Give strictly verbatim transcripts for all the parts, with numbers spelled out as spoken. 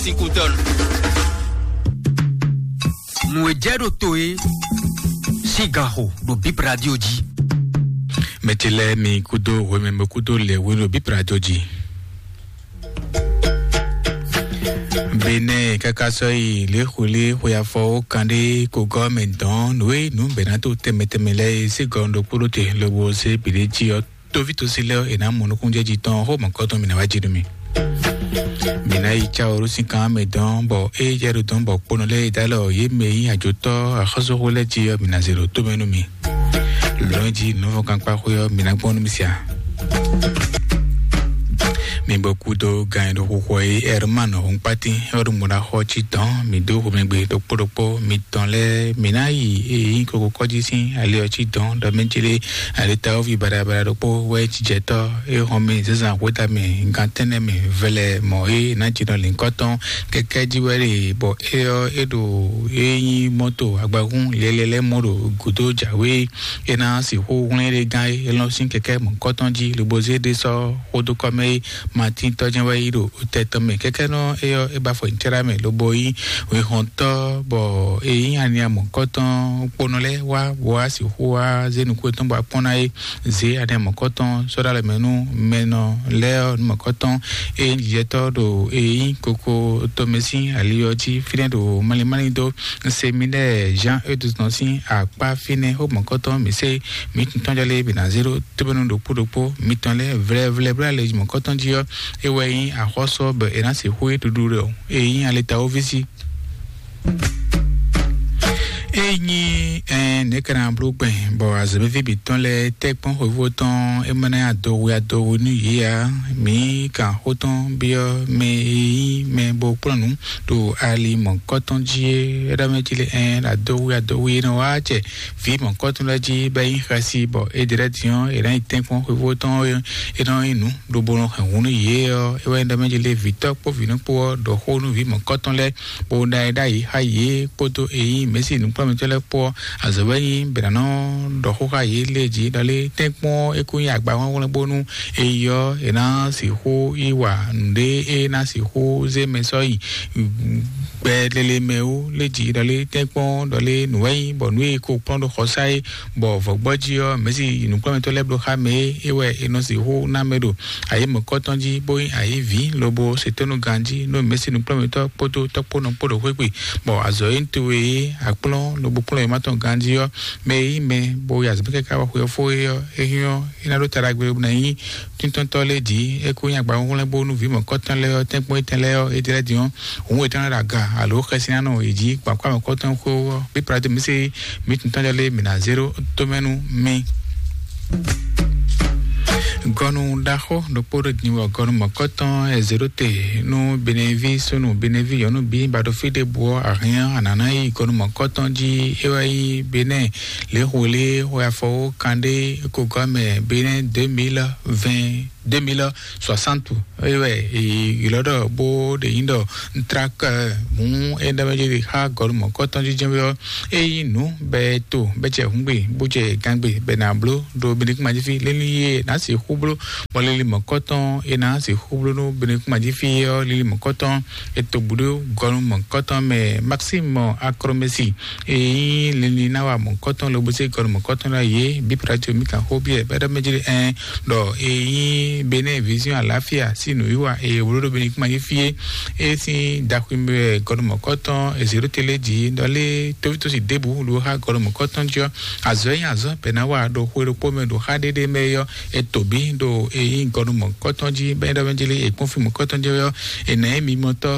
Ikutɔnu. Nǔ e jɛ ɖo to é sín ganxo ɖo Bip Radio jí. Mɛtsi lɛ́ɛ mi kúdó hwemɛ kúdó lɛ hwenu ɖo Bip Radio jí. Benɛ káká sɔ́ yi lě xwlé xwe afɔ ó kan ɖé ko gɔ́ mɛ dɔn nǔ e nǔ bɛ̌ ná tó tɛnmɛ tɛnmɛ lɛ́ɛ é sí gɔn ɖokpó ɖó te lobo zé bǐ ɖé jí ɔ́, tóví tosi lɛ́ɛ ɔ́, è nǎ mɔ nukúnjɛ́ jí tɔn xó mɔ̌kɔtɔn mǐ ná wá jí nú mi. Mǐ ná yi cá oró sín kan mɛ dɔn bɔ é jɛ ɖo dɔn bɔ kponɔ lɛ́ɛ é dó alɔ yě mɛ e nyí ajotɔ́ axɔ́súxú lɛ́ɛ jí ɔ́, mǐ ná zé ɖo tó mɛ nú mi. Lɔ̌n jí nǔvɔ́kankpá xwé ɔ́, mǐ ná gbɔn nú mi sia. Mi bɔ kúdó gan e ɖo xixo é Herman Hunkpati ɔ́ ɖo mɔɖaxɔ cí dɔn mi dó xomɛgbe ɖokpó ɖokpó mitɔn lɛ́ɛ. Mi ná yi e nyí koko kɔ́jí sín ali ɔ́ cí dɔn ɖɔ mɛ célé alitawovi baɖabaɖa ɖokpó wɛ jijɛtɔ́ é xɔn mɛ zǎnzǎn xwéta mɛ gan tɛ́nnɛ mɛ vɛlɛ mɔ̌ é ná jínɔ lǐnkɔ́tɔn kɛkɛ́ jí wɛ ɖe bɔ é ɔ́ é ɖo é nyí mɔ́to agbahún lɛ́lɛ́ lɛ́ɛ mɔ ɖo gǔdo jǎwe. É ná sixú hwlɛ́n ɖé gán é lɔn sín kɛkɛ́ mɔ̌kɔtɔn jí lobo zé ɖé sɔ́ xódó kɔ́ mɛ é Matín tɔ́ jɛ́n wɛ yí ɖo tɛ tɔn mɛ. Kɛkɛ́nɔ é ɔ́, é ba afɔ nyi cɛ́ɖá mɛ lobo yí wěhɔntɔ́, bɔ é nyí ania mɔ̌kɔtɔn kponɔ lɛ́ɛ wá bó wá sixú wá zé nukún yětɔn bó wá kpɔ́n ná é. Zě ania mɔ̌kɔtɔn sɔ́ ɖó alɔ mɛ nú mɛnɔ lɛ́ɛ ɔ́, nú mɔ̌kɔtɔn é nyí jijɛtɔ́ ɖo é nyí koko tɔn mɛ sín ali ɔ́ jí fínɛ́ ɖo malimáli dó. Seminɛ́ɛ Jean Eudes nɔ sín akpá fínɛ́ xó mɔ̌kɔtɔn mǐ sé mǐ tɔn jɔ lé bǐ ná zé ɖó tóbɛ́nú ɖokpó ɖokpó mitɔn lɛ́ɛ vlɛvlɛ bló alɛ mɔ̌kɔtɔn jí ɔ́, é wɛ nyí axɔ́sú ɔ́ bɔ è nǎ sixú é ɖuɖu ɖɔ é nyí alitawoví sí. É nyí ɛn nɛ̌ ka ná bló gbɛn bɔ azɔ̌mɛví bǐ tɔn lɛ́ɛ tɛ́ kpɔ́n xweyíwó tɔn é ma ná nyi adohu adohu nú yě ǎ. Mǐ kan xó tɔn byɔ́ mɛ e nyí mɛ bó kplɔ́n nǔ ɖo ali mɔ̌kɔtɔn jí é ɖɔ mɛ jí lé ɛn adohu adohu e nɔ wá acɛ vǐ mɔ̌kɔtɔn lɛ́ɛ jí bɔ é nyí xɛsi bɔ é ɖe lɛ́ din ɔ́, è nǎ nyi tɛ́nkpɔ́n xwefó tɔn ɔ́, é nɔ nyí nǔ lobo nɔ hɛn hǔn nú yě ɔ́, é wɛ nyí ɖɔ mɛ jí lé vǐtɔ́ kpó vǐnú kpó ɔ́ ɖɔ xó nú vǐ mɔ̌kɔtɔn lɛ́ɛ, bó ná ɛ ɖ'ayǐ xá yě kpódó é nyí mɛ̌si nǔkplɔ́nmɛtɔ́ lɛ́ɛ kpó ɔ́, azɔ̌ wɛ nyí bɛ ná nɔ ɖɔ xó xá yě lɛ́ɛ jí ɖɔ lé tɛ́nkpɔ́n é kú nyí agba hwlɛ́nhwlɛ́n bónú é yi ɔ́, è nǎ sixú yi wa nǔɖé é ná sixú zé mɛ sɔ́ yi gbɛ lele mɛ wú lé jǐ ɖɔ lé tɛ́nkpɔ́n ɖɔ lé nǔ wɛ nyí bɔ nǔ e ko kplɔ́n ɖo xɔsá é, bɔ vɔ̌gbɔ́ jí ɔ́, mɛ̌si nǔkplɔ́nmɛtɔ́ lɛ́ɛ bló xá mɛ é, é wɛ è nɔ sixú ná mɛ ɖo ayǐ mɔ̌kɔtɔn jí, bó nyí ayǐ vǐ lobo se tónú ganjí nú mɛ̌si nǔkplɔ́nmɛtɔ́ kpódó tɔ́kpónɔ kpó ɖo xwé gbe, bɔ azɔ̌ e towe é akplɔ́n lobo kplɔ́n e ma tɔn ganjí ɔ́, mɛ e nyí mɛ bo yi azɔ̌ kɛká wá xwe ɔ́ fó é ɔ́, é nyɔ́ é ná ɖó taɖagbe bó ná nyí tíntɔ́ntɔ́ lɛ́ɛ jí é kó nyí agba húnhúnlɛ́n bónú vǐ mɔ̌kɔtɔn lɛ́ɛ ɔ́, tɛ́nkpɔ́n étɛn lɛ́ɛ ɔ́, é jlɛ́ din ɔ́, hǔn è tɔ́n lɛ́ ɖo aga alo xɛsinánɔ è jí gbɔn akwá mɔ̌kɔtɔn xó ɔ́, bí Pilato mǐ se mǐ tun tɔn jɔ lé mǐ ná zé ɖó tómɛ nú mì. Gɔnu ɖaxó ɖokpó ɖo din wɔ gɔnu mɔ̌kɔtɔn è zě ɖó te nú Beneví súnnu Beneví nyɔ̌nu bí ba ɖo fí ɖěbǔ ɔ́, ahyɛ́n anǎná yi gɔnu mɔ̌kɔtɔn jí é wɛ nyí Benɛ́ɛ lě xo lé xwe afɔwó kanɖé ko gɔ́ mɛ Benɛ́ɛ deux mille vingt, deux mille soixante. Eye wɛ ylɔ́ ɖɔ bó ɖe nyí ɖɔ ntrak mú é ɖɔ mɛ jí xá gɔlu mɔ̌kɔtɔn jijɛ ɔ́, é nyí nǔ bɛ to bɛ jɛ hǔngbe bó jɛ gangbe bɛ nǎ bló ɖo Benɛ́ kún ma jí fí lélí yé nǎ sixú bló, bɔ lélí mɔ̌kɔtɔn é nǎ sixú bló nú Benɛ́ kún ma jí fí ɔ́ lélí mɔ̌kɔtɔn é to bǔ ɖó gɔlu mɔ̌kɔtɔn mɛ Maxime Acromesi. Eyi lili na wa mɔkɔtɔn lobo se gɔnu mɔkɔtɔn la ye bi prati mi kan xo biɛ bɛdɛ mɛ jeli ɛn dɔ eyi bene vision alafia si nu yiwa eye wolo do bene kuma yi fie e sin daxwi mɛ gɔnu mɔkɔtɔn ezero tele ji dɔ le tovitosi debu lo ha gɔnu mɔkɔtɔn jɔ azɔ yi azɔ bɛ na wa do xwe do kpo mɛ do ha dede mɛ yɔ eto bi do eyi gɔnu mɔkɔtɔn ji bɛdɛ mɛ jeli ekpɔn fi mɔkɔtɔn jɔ yɔ Ena emi mɔtɔ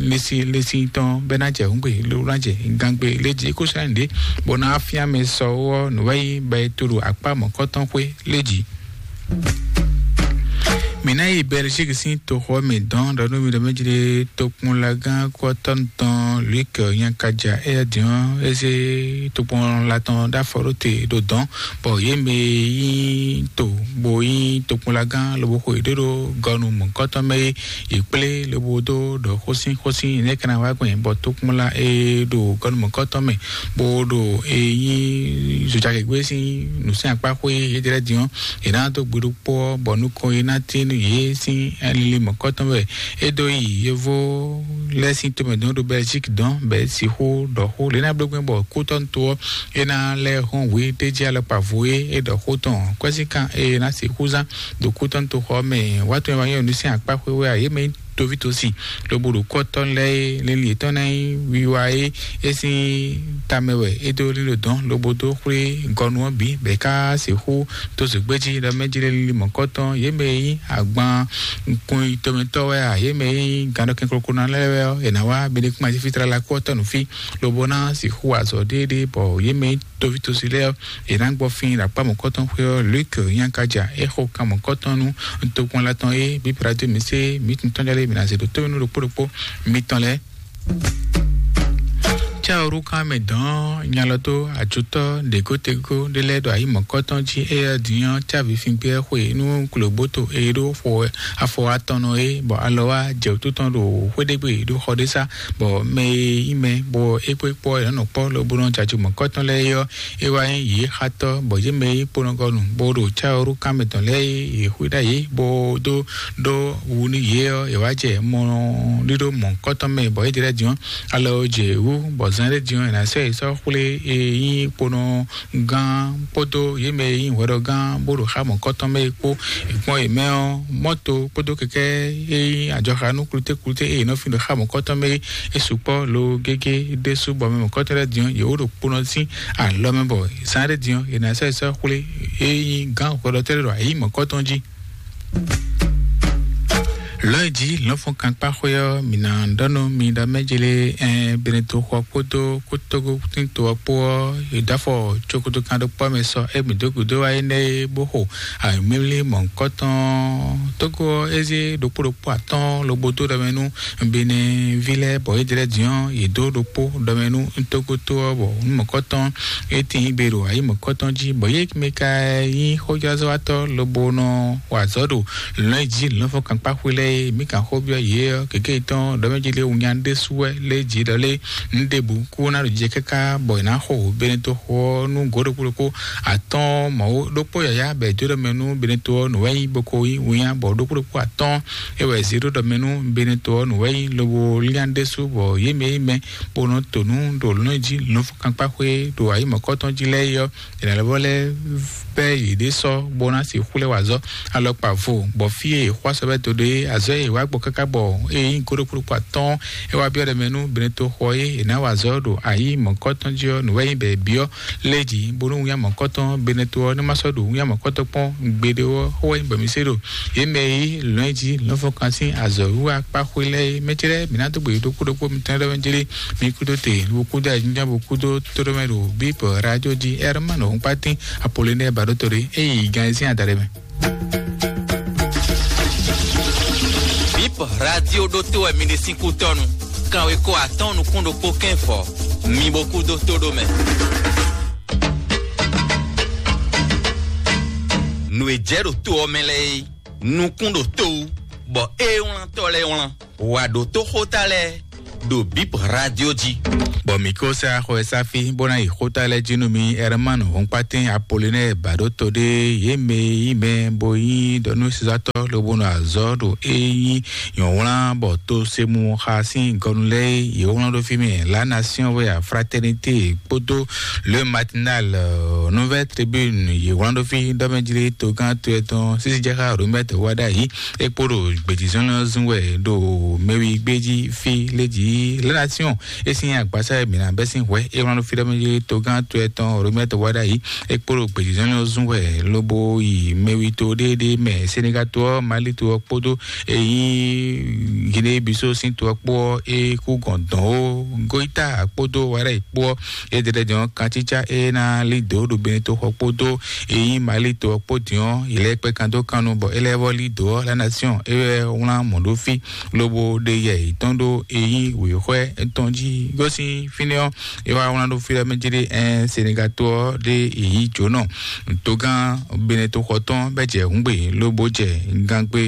lesi lesi tɔn bɛ na jɛ hungbe lo na jɛ gangbe le ji ko sa nde bɔ na afia mɛ sɔ wɔ nuvɛyi bɛ to ɖo akpa mɔkɔtɔn xwe le ji. Mi na yi Belgique sin toxɔ mɛ dɔn ɖɔ nú mi ɖɔ mɛ jide tokpɔnlagán kɔtɔn tɔn Luc Nyakaja eya diɔn eze tokpɔnla tɔn ɖo afɔ ɖo te ɖo dɔn bɔ ye mɛ yi to bo yi tokpɔnlagán lobo xo yi ɖo ɖo gɔnu mɔkɔtɔn mɛ yi yi kplé lobo dó ɖɔ xósin xósin nɛ kana wá gbɛn bɔ tokpɔnla e ɖo gɔnu mɔkɔtɔn mɛ bó ɖo e yi zojagegbe sin nusɛn akpa xó yi yedrɛ diɔn e na do gbeɖo kpɔ bɔ nukɔn yi na tin yě sín lili mɔ̌kɔtɔn wɛ é dó yi yovó lɛ́ɛ sín tomɛ dɔn ɖo Belgique dɔn bɛ sixú ɖɔ xó lě ná bló gbɛn bɔ kútɔ́ to ɔ́ é ná lɛ́ hɔn wě ɖé jí alɔkpa vo é é ɖɔ xó tɔn kwɛ́síkan é ná sixú zán ɖo kútɔ́ to xɔ mɛ wá tɔn wá nyɔ́ nú sín akpá xwé wɛ a yě mɛ nyí toví tosi lobo ɖo kɔ́tɔn lɛ́ɛ é lili yětɔn ná nyí wiwa é é sín tamɛ wɛ é dó lílo dɔn lobo dó xwlé gɔnu ɔ́ bǐ bɛ ká sixú tó zǒgbéjí ɖɔ mɛ jí lé lili mɔ̌kɔtɔn yě mɛ e nyí agban kun tomɛtɔ́ wɛ a yě mɛ e nyí gannɔ kɛnkloklo ná lɛ́ɛ wɛ ɔ́ è nǎ wá benekuma jí fítlala kú ɔ́ tɔ́ nǔ fí lobo ná sixú wa azɔ̌ ɖéeɖée bɔ yě mɛ e nyí toví tosi lɛ́ɛ ɔ́ è nǎ gbɔ fín ɖo akpá mɔ̌kɔtɔn xwé ɔ́ Luc Nyankaja é xo kan mɔ̌kɔtɔn nú tokpɔnla tɔn é bíbra dó mǐ sé mǐ tun tɔn jálé mǐ ná zě ɖo tó nú ɖokpó ɖokpó mitɔn lɛ́ɛ. Cɛ́ ɔ́ ɖó kán mɛ dɔn nyalɔtó ajotɔ́ ɖěgótegó ɖé lɛ́ɛ ɖo ayǐ mɔ̌kɔtɔn jí éyɛ́ din ɔ́ cávi fíngbé xwe nú klobóto e ɖó xo afɔ atɔnnɔ é bɔ alɔ wá jɛ wútu tɔn ɖo xwéɖégbé ɖó xɔ ɖé sá bɔ mɛ e nyí mɛ bɔ é kpó é kpó ɔ́ è nǎ nɔ kpɔ́ lobo nɔ jɛ ajo mɔ̌kɔtɔn lɛ́ɛ é ɔ́ é wá nyí yě xatɔ́ bɔ yě mɛ e nyí kponɔgɔnu bó ɖo cáyɔ́ɖó kán mɛ tɔn lɛ́ɛ é yě xwíɖá yě bó dó ɖó wu nú yě ɔ́ è wá jɛ mɔ ɖíɖó mɔ̌kɔtɔn mɛ bɔ é ɖe lɛ́ɛ din ɔ́ alɔ jɛ wú bɔ zán ɖé din ɔ́ è nǎ sɔ́ yě sɔ́ xwlé e nyí kponɔ gán kpódó yě mɛ e nyí hwɛɖɔgán bó ɖo xá mɔ̌kɔtɔn mɛ é kpó. È kpɔ́n yě mɛ ɔ́ mɔ́to kpódó kɛkɛ́ e nyí ajɔxanú klútéklúté e è nɔ fin ɖo xá mɔ̌kɔtɔn mɛ é sukpɔ́ lo gégé ɖésú bɔ mɛ mɔ̌kɔtɔn lɛ́ɛ din ɔ́ yě wó ɖo kponɔ sín alɔ mɛ bɔ zán ɖé din ɔ́ è nǎ sɔ́ yě sɔ́ xwlé e nyí gán hwɛɖɔtɛ́ lɛ́ɛ ɖo ayǐ mɔ̌kɔtɔn jí. Lɔ̌ e jí lɔ̌nfɔ́nkankpáxwé ɔ́, mǐ ná ɖɔ nú mi ɖɔ mɛ jlé ɛn Benetoxɔ kpódó kótógótíntɔ ɔ́ kpó ɔ́, è dó afɔ cokotokan ɖokpó mɛ sɔ égbǐ dó gǔdo wá énɛ́ é bó xo awǐmlímlí mɔ̌hunkɔtɔn Tógó ɔ́, é zé ɖokpó ɖokpó atɔ́ɔ́n lobo dó ɖɔ mɛ nú Beneví lɛ́ɛ, bɔ é jlɛ́ din ɔ́, yě dó ɖokpó ɖɔ mɛ nú Tógótó ɔ́, bɔ nú mɔ̌kɔtɔn é tíin gbe ɖo ayǐ mɔ̌kɔtɔn jí, bɔ yě mɛ ka nyí xójázɔ́watɔ́ lobo nɔ wa azɔ̌ ɖo lɔ̌nyijǐ lɔ̌nfɔ́nkankpáxwé lɛ́ɛ é, mǐ kan xó byɔ́ yě ɔ́, gěgé yětɔn ɖɔ mɛ jí lé wunya ɖésú wɛ lé jǐ ɖɔ lé nǔ ɖěbǔ kú ná ɖo jijɛ káká, bɔ è nǎ xo Beneto xo ɔ́ nú gǒ ɖokpó ɖokpó atɔ́ɔ́n mɔ̌ ɖokpó yǎyá bɔ è dó ɖɔ mɛ nú Beneto ɔ́, nǔ wɛ nyí bó ko nyí winnyá, bɔ ɖokpó ɖokpó atɔ́ɔ́n é wɛ è zě ɖó ɖɔ mɛ nú Beneto ɔ́, nǔ wɛ nyí lobo líán ɖésú, bɔ yě mɛ e nyí mɛ bó nɔ to nǔ ɖo lɔ̌nyijǐ lɔ̌nfɔ́nkankpáxwé ɖo ayǐ mɔ̌kɔtɔn jí lɛ́ɛ é ɔ́, è nǎ lɛ́ vɔ lɛ́ bɛ́ yěɖée sɔ́ bó ná sixú lɛ́ wa azɔ̌ alɔkpa vo, bɔ fí e è xwá sɔ́ bɛ́ dó ɖe é, azɔ̌ e è wá gbɔ káká bɔ é nyí gǒ ɖokpó ɖokpó atɔ́ɔ́n, é wá byɔ́ ɖɔ mɛ nú Beneto xɔ é è nǎ wa azɔ̌ ɖo ayǐ mɔ̌kɔtɔn jí ɔ́, nǔ wɛ nyí bɔ è byɔ́ lé jǐ, bónú winnyá mɔ̌kɔtɔn Beneto ɔ́ ní ma sɔ́ ɖo winnyá mɔ̌kɔtɔn kpɔ́n gbeɖé ɔ́, xó wɛ nyí bɔ mǐ se ɖo yě mɛ e yí lɔ̌nyijǐ lɔ̌nfɔ́nkan sín azɔ̌wiwa kpáxwé lɛ́ɛ é. Mɛ ce lɛ́ɛ, mǐ ná dó gbe ɖokpó ɖokpó mitɔn lɛ́ɛ mɛ jlé. Mi kúdó te, bo kúdó ayǐjínjɔ́n, bo kúdó tóɖómɛ ɖo bíbɔ radio jí Herman Hɔnkpatín Apollinaire Baɖótɔ́ ɖé, é yi gan ɛ sín adaɖɛ mɛ. Bip radio ɖótó wɛ mi ɖe sín kútɔ́nu. Kanwe ko atɔ́ɔ́n nukún ɖokpó kɛ́n fɔ. Mi bo kúdó tóɖómɛ. Nǔ e jɛ ɖo to ɔ́ mɛ lɛ́ɛ é, nukún ɖo to wú, bɔ é wlántɔ́ lɛ́ɛ wlán. Wǎ ɖó tó xóta lɛ́ɛ ɖo Bip radio jí. Bɔ mǐ ko sɛ axɔ e sáfí bó ná yi xóta lɛ́ɛ jí nú mi Herman Hɔnkpatín Apollinaire Baɖótɔ́ ɖé, yě mɛ e nyí mɛ bó nyí ɖɔnúsizatɔ́ lobo nɔ azɔ̌ ɖo é nyí nyɔ̌wlán bɔ to se mu xa sín gɔnu lɛ́ɛ é, yě wlán ɖó fí mɛ La Nation wɛ a Fraternité kpódó Le Matinal, euh, Nouvelle Tribune, yě wlán ɖó fí ɖɔ mɛ jlé togán to etɔn sísí jɛ xá Robert Wadayi é kpó ɖo gbějízɔ́n lɛ́ɛ zún wɛ ɖo mɛwi gbéjí fí lé jí La Nation é sín agbasa e mǐ ná bɛ́ sín hwɛ é wlán ɖó fí ɖɔ mɛ jlé togán to etɔn Robert Wadayi é kpó ɖo gbějízɔ́n lɛ́ɛ zún wɛ lobo yi mɛwi to ɖéeɖée mɛ Senegal to ɔ́, Mali to ɔ́ kpódó e nyí Guinée Bissau sín to ɔ́ kpó ɔ́, é kú gɔn dɔn ó. Goita kpódó Wadayi kpó ɔ́, é ɖeɖe dɔn kansítsá é ná lí dǒ ɖo Beneto xɔ kpódó e nyí Mali to ɔ́ kpó din ɔ́, yě lɛ́ kpɛ́ kan dó kan nu bɔ é lɛ́ vɔ lí dǒ ɔ́, La Nation é wɛ wlán mɔ̌ ɖó fí lobo ɖe yɛ yětɔn ɖó e nyí wěxwɛ tɔn jí. Gosín fínɛ́ ɔ́, é wá wlán ɖó fí ɖɔ mɛ jí ɖé ɛn Senegal tó ɔ́ ɖé èyí jǒnɔ togán Benin toxɔ tɔn bɛ jɛ hǔngbe lobo jɛ gangbe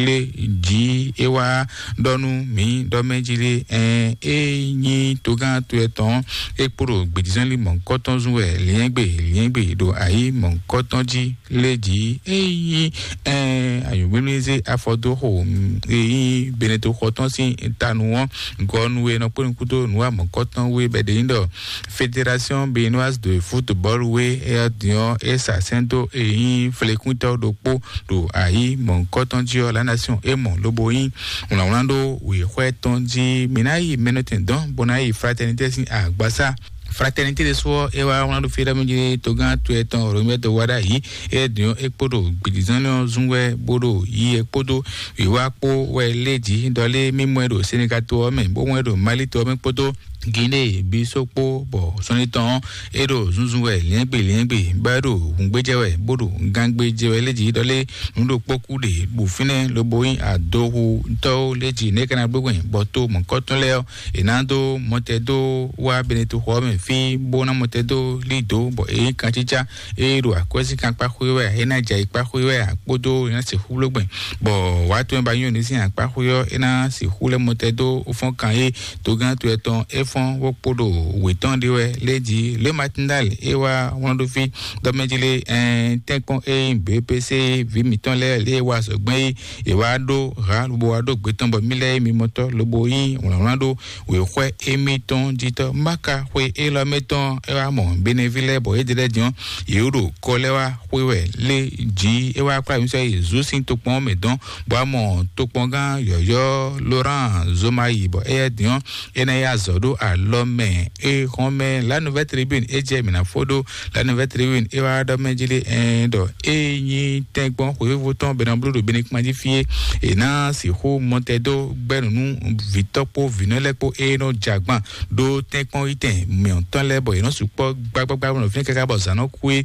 lé jí. É wá ɖɔ nú mǐ ɖɔ mɛ jí ɖé ɛn é nyí togán to ɛtɔn é kpo ɖo gbědízɔ́nlí mɔ̌kɔtɔn zún wɛ liɛ́ngbe liɛ́ngbe ɖo ayǐ mɔ̌kɔtɔn jí lé jí. É nyí ɛn ayǒgbémlízé afɔdóxo é nyí Benin toxɔ tɔn sín tanu ɔ́ gɔ́ nú e nɔ kpó nukúndó nǔ wa mɔ̌kɔtɔn wé bɛ ɖe nyí ɖɔ Fédération Béninoise de Football wé é ɔ́ din ɔ́ é sa sɛ́n dó é nyí flekúntɔ́ ɖokpó ɖo ayǐ mɔ̌kɔtɔn jí ɔ́ la nation é mɔ lobo nyí wlǎnwlán ɖó wěxwɛ tɔn jí. Mǐ ná yi mɛnɔtɛn dɔn bó ná yi Fraternité sín agbasá. Fraternité ɖésú ɔ́ é wá wlán ɖó fí ɖɔmɛ jí togán to ɛtɔn Romuald Wadagni é din ɔ́ é kpo ɖo gbědízɔ́n ɔ́ zún wɛ bó ɖo yi é kpódó wǐwá kpó wɛ lé jí ɖɔ lé mí mɔ ɛ ɖo Senegal to ɔ́ mɛ bó mɔ ɛ ɖo Mali to ɔ́ mɛ kpódó Guinée Bissau kpó bɔ sɔ́nítɔn ɔ́ é ɖo zúnzún wɛ liɛ́ngbè liɛ́ngbè bɔ é ɖo hǔngbéjɛ wɛ bó ɖo gangbéjɛ wɛ lé jí ɖɔ lé nǔ ɖokpó kú ɖe bɔ fínɛ́ lobo nyí adohutɔ́wo lé jí nɛ́ ka ná gbégbɛn bɔ to mɔ̌kɔtɔn lɛ́ɛ ɔ́ è nǎ dó mɔtɛdó wá Benetoxɔ ɔ́ mɛ fí bó ná mɔtɛdó lí dǒ bɔ é nyí kancícá é ɖo akwɛ́síkan kpá xwé wɛ é ná jɛ ayǐ kpá xwé wɛ kpódó é ná sixú bló gbɛn bɔ wǎ tɔn e ba nyɔ́ ní sín akpá xwé ɔ́ é ná sixú lɛ́ mɔtɛdó fɔ́n kan é togán to ɛtɔn é fɔ́n bó kpo ɖo wětɔn ɖé wɛ lé jí lé matindal é wá wlán ɖó fí dɔmɛjí lé ɛn tɛ́nkpɔ́n é nyí B P C vǐ mǐtɔn lɛ́ɛ lé wá azɔ̌gbɛ́n é è wá ɖó ha lobo wá ɖó gbě tɔn bɔ mí lɛ́ɛ mimɔtɔ́ lobo nyí wlǎnwlán ɖó wěxwɛ émítɔn jítɔ́. Máka xwe élɔ́ mɛ tɔn é wá mɔ Benevi lɛ́ɛ bɔ é ɖe lɛ́ɛ din ɔ́, yě ɖo kɔ lɛ́ɛ wá xwe wɛ lé jǐ é wá kplá mǐ sɔ́ yi zǔ sín tokpɔn ɔ́ mɛ dɔn, bɔ wá mɔ tokpɔngán yɔ̌yɔ́ Laurent Zomayi bɔ éyɛ́ din ɔ́, é ná yi azɔ̌ ɖó alɔ mɛ é hɔn mɛ La Nouvelle Tribune é jɛ mǐ ná fó ɖó La Nouvelle Tribune é wá ɖɔ mɛ jí lé ɛn ɖɔ é nyí tɛ́nkpɔ́n xwěvo tɔn bɛ nɔ bló ɖo Benikuma jí fí é, è nǎ sixú mɔtɛdó gbɛ́ nǔ nú vǐtɔ́ kpó vǐnɔ lɛ́ɛ kpó é nɔ jɛ agban ɖó tɛ́nkpɔ́n yítɛn mǐtɔn lɛ́ɛ bɔ yě nɔ sukpɔ́ gbágbágbá nɔ fínɛ́ káká bɔ zǎn nɔ kú é.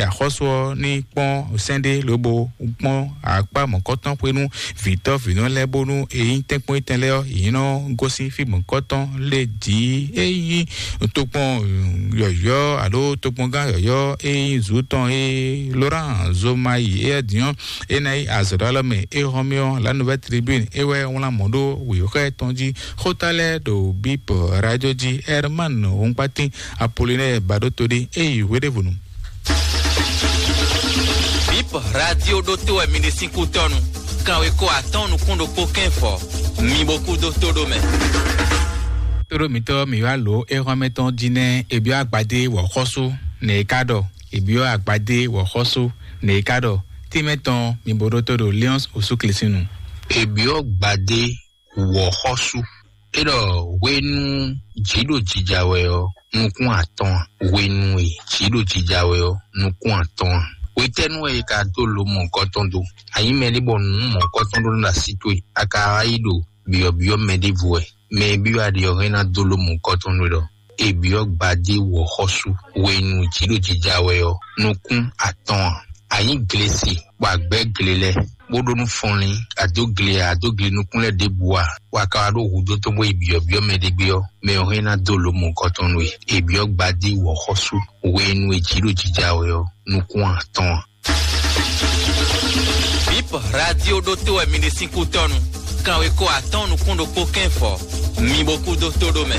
Axɔ́sú ɔ́ ní kpɔ́n sɛ́n ɖé lobo kpɔ́n akpá mɔ̌kɔtɔn xwé nú vǐtɔ́ vǐnɔ lɛ́ɛ bónú è nyí tɛ́nkpɔ́n yítɛn lɛ́ɛ ɔ́, yě nɔ gosín fí mɔ̌kɔtɔn lé jǐ é nyí tokpɔn yɔ̌yɔ́ alo tokpɔngán yɔ̌yɔ́ é nyí zǔ tɔn é Laurent Zomayi é din ɔ́, é ná yi azɔ̌ ɖó alɔ mɛ é hɔn mì ɔ́, La Nouvelle Tribune é wɛ wlán mɔ̌ ɖó wěxɔ́ tɔn jí. Xóta lɛ́ɛ ɖo Bip Radio jí, Herman Hunkpatin Apollinaire Baɖótodé é yi hweɖěvɔnu. Bip Radio ɖótó wɛ mi ɖe sín kú tɔnu. Kanwe ko atɔn nukún ɖokpó kɛ́n fɔ. Mi bo kú dó tó ɖó mɛ. Tóɖó mǐtɔn mǐ wá lǒ éhɔ́mɛ tɔn jí nɛ́ è byɔ́ agbadé wɔ̌xɔ́sú nɛ̌ é ká ɖɔ? È byɔ́ agbadé wɔ̌xɔ́sú nɛ̌ é ká ɖɔ? Tímɛ tɔn mi bo ɖótó ɖo Lions Osu Klesinu. È byɔ́ gbadé wɔ̌xɔ́sú. É ɖɔ hwenu jǐ ɖo jija wɛ ɔ́, nukún atɔn a? Hwenu e jǐ ɖo jija wɛ ɔ́, nukún atɔn a? Hwetɛ́nu wɛ è ka dó lo mɔ̌hunkɔtɔn dó? A nyí mɛɖé bɔ nǔ mɔ̌hunkɔtɔn ɖó nɔ así towe, a ka wá yi ɖo byɔ̌byɔ́ mɛ ɖěvo wɛ? Mɛ e byɔ́ a ɖe ɔ́ hɛn ná dó lo mɔ̌hunkɔtɔn nú we ɖɔ è byɔ́ gbadé wɔ̌xɔ́sú hwenu jǐ ɖo jija wɛ ɔ́, nukún atɔn a? A nyí glesi bɔ a gbɛ́ gle lɛ́ɛ, bó ɖó nú fɔnlín, a dó gle a, a dó gle nukún lɛ́ɛ ɖěbǔ a, bɔ a ka wá ɖó hudó tɔn bó yi byɔ̌byɔ́ mɛ ɖé gbé ɔ́, mɛ ɔ́ hɛn ná dó lo mɔ̌hunkɔtɔn nú we. È byɔ́ gbadé wɔ̌xɔ́sú hwenu e jǐ ɖo jija wɛ ɔ́, nukún atɔn a? Bip Radio ɖótó wɛ mi ɖe sín kú tɔnu. Kanwe ko atɔn nukún ɖokpó kɛ́n fɔ. Mi bo kú dó tó ɖó mɛ.